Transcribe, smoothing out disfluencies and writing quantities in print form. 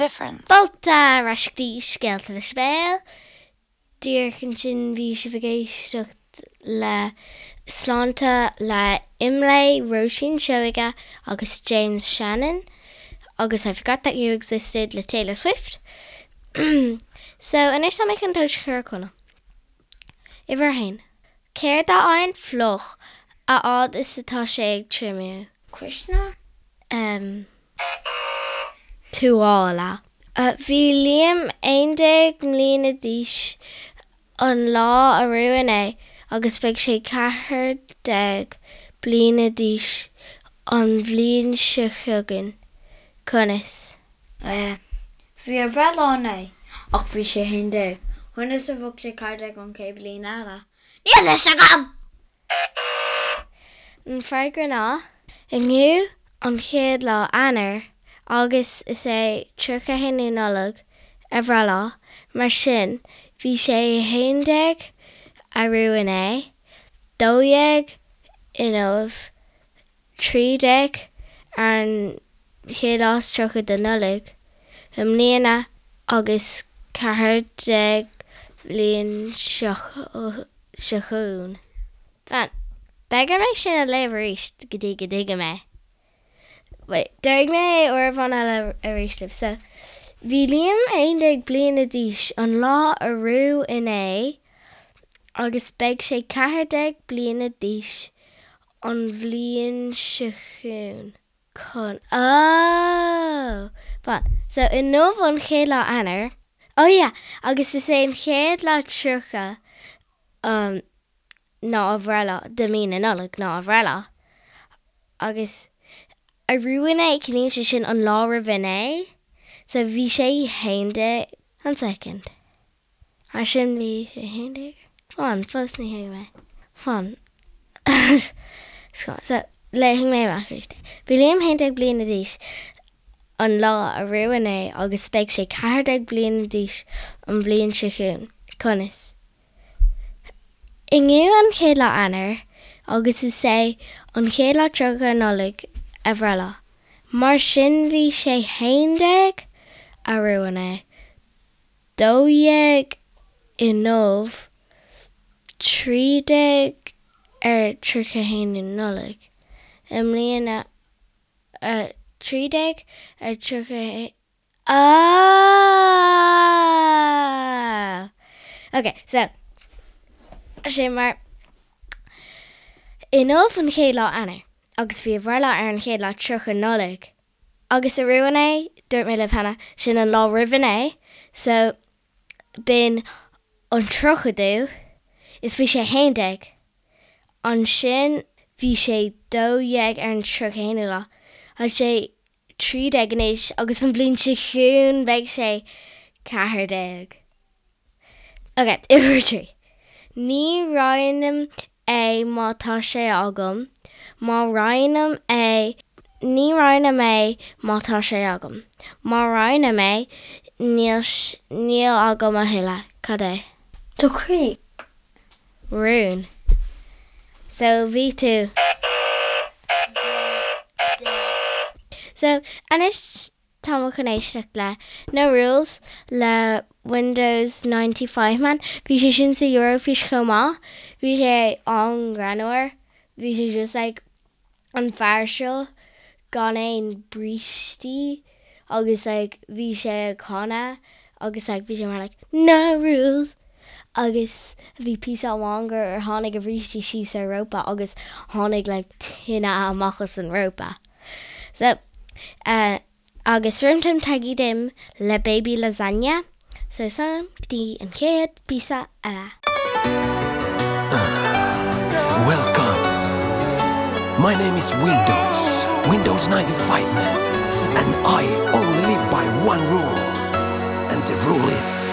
difference. Fáilte ar ais go dtí Scéalta le Sibéal. Díreach ansin bhí sibh ag éisteacht le Sláinte le Imlé, Róisín Seoige agus James Shannon agus I Forgot That You Existed le Taylor Swift. So anois tá mé chun tomhais a chur ar Conall. Uimhir a haon. Céard a fhaigheann fliuch a fhad is atá sé ag triomú? Cuisneoir? M. Tuáille. Bhí Liam 11 mbliana d'aois an lá arú inné agus beidh sé 14 bliana d'aois an bhliain seo chugainn. Conas? Bhí a bhreithlá inné ach bhí sé 11. Conas a bheadh sé 14 an chéad bhliain eile? Níl a fhios agam! An freagra ná, Inniu an chéad lá Eanáir agus is é 31ú Nollaig a bhreithlá, mar sin bhí sé 11 arú inné, 12 inniu, 13 ar an chéad lá is 30 de Nollaig i mbliana agus 14 bhliain seo chugainn. Fan, beidh orm é sin a léamh arís go dtí go dtuigim é. Wait, déarfaidh mé é uair amháin eile arís libh. So, bhí Liam 11 bliana d'aois an lá arú inné agus beidh sé 14 bliana d'aois an bhliain seo chugainn. Chun, oh! Fan, so inniu an chéad lá Eanáir, oh yeah, agus is é an chéad lá 30 um ná a bhreithlá, de mí na Nollag ná a bhreithlá. Agus arú inné, ciallaíonn sé sin an lá roimh inné, so bhí sé 11, one second. Mar sin bhí sé 11. Fan, fós ní thuigim é. Fan. So, léifidh mé amach arís é. Bhí Liam 11 bliana d'aois an lá arú inné agus beidh sé 14 bliana d'aois an bhliain seo chugainn. Conas? Inniu an chéad lá Eanáir agus is é an chéad lá 30 Nollaig a bhreithlá. Mar sin bhí sé 11 arú inné. 12 inniu, 13 ar 31 Nollaig i mbliana, 13 ar 31, oh! Ok, so, sin mar, inniu an chéad lá Eanáir agus bhí a bhreithlá ar an chéad lá 30 Nollaig. Agus arú inné, dúirt mé libh cheana, sin an lá roimh inné, so b'in an tríochadú, is bhí sé 11. Ansin bhí sé 12 ar an 31ú lá, tá sé 13 anois agus an bhliain seo chugainn beidh sé 14. Ok, uimhir 3. Ní roinnim é má tá sé agam, má roinnim é, ní roinnim é má tá sé agam, má roinnim é, níl, níl agam a thuilleadh. Cad é? Do chroí. Rún. So, bhí tú. So, anois Tá mé chun éisteacht le No Rules le Windows 95 Man. Bhí sé sin sa Eurofís chomh maith. Bhí sé an-ghreannmhar. Bhí sé just like an fear seo gan aon brístí agus like bhí sé ag canadh agus like bhí sé mar like No rules agus bhí píosa amháin gur tháinig a bhrístí síos ar rópa agus tháinig like tine amach as an rópa. So, eh, agus Rim Tim Taggy Dim le Baby Lasagna. So, slán go dtí an chéad phíosa eile. Welcome. My name is Windows, Windows 95 man, and I only live by one rule. And the rule is.